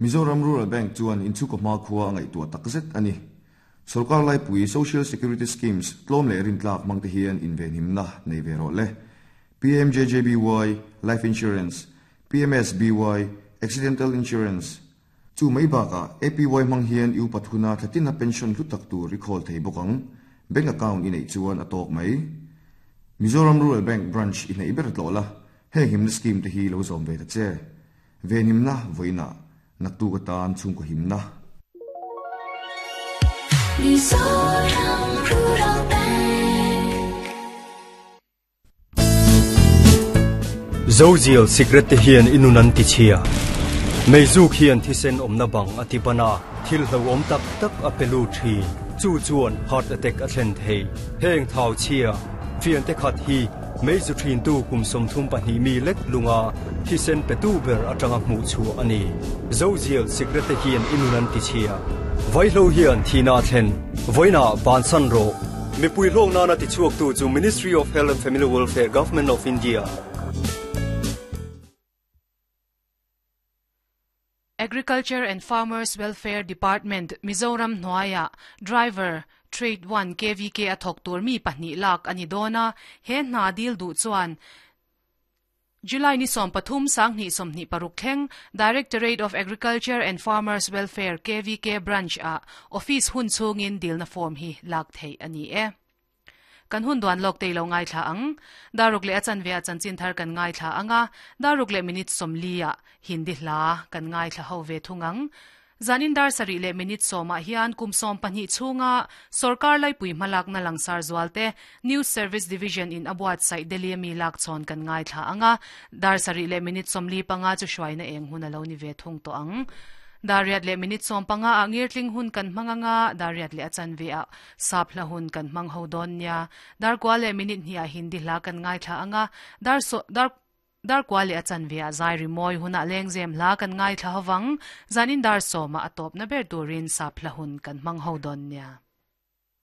Mizoram Rural Bank chuan inchhungkaw hmakhua a ngaihtuah takzet a ni. Sorkar laipui Social Security Schemes tlawm leh rintlak hmangte hian invenhimna nei ve rawh le. PMJJBY, Life Insurance, PMSBY, Accidental Insurance, Chu mai bakah APY hmang hian i upat huna thlatina pension hlu tak tur i khawl thei bawk ang. Bank account i neih chuan a tawk mai. Mizoram Rural Bank branch i hneih ber tlawh la, heng himna scheme te hi lo zawm ve ta che. Venhimna vawiinah naktuk atan chhungkaw himna. Mizoram Rural Bank. Zozial sikret te hian i nun an ti chhia. Meizuk hian thisen awmna bang a ti ban a, thil hlauhawm tak tak a pe lut thin. Chu chuan heart attack a thlen thei. Heng thau chhia, fiante khat hi meizu thintu kum 32 mi lek lunga thisen petu ber atanga hmuh chhuah a ni. Zozial sikret te hian i nun an ti chhia. Vaihlo hian thihna a thlen. Vawiinah bansan rawh. Mipui hlawk nana tichhuaktu chu Ministry of Health and Family Welfare, Government of India. Agriculture and Farmers Welfare Department, Mizoram hnuaiah Driver, Trade One KVK a thawk tur mi pahnih lak a ni dawn a, he hna dil duh chuan July ni 13 2026 thleng Directorate of Agriculture and Farmers Welfare KVK Branch ah Office hun chhungin dilna form hi lak theih a ni e. Kan hun duan lawk tei lo ngaithla ang. Daruk leh a chanve ah chanchin thar kan ngaithla ang a, daruk leh minute 40 ah Hindi hla kan ngaithla ho ve thung ang. Zanin dar sarih leh minute sawmah hian kum 12 chhunga sorkar laipui hmalakna langsar zualte News Service Division in a buatsaih Delhi a mi lakchhawn kan ngaithla ang a, dar sarih leh minute 45 chu hruaina eng hun a lo ni ve thung tawh ang. Dar riat leh minute 15 ah ngirtling hun kan hmang ang a, dar riat leh a chanve ah sap hla hun kan hmang ho dawn nia. Dar kua leh minute hnih ah Hindi hla kan ngaithla ang a, dar dar Dar kua leh a chanve ah zai rimawi hunah lengzem hla kan ngaithla ho vang, zanin dar sawmah a tawpna ber turin sap hla hun kan hmang ho dawn nia.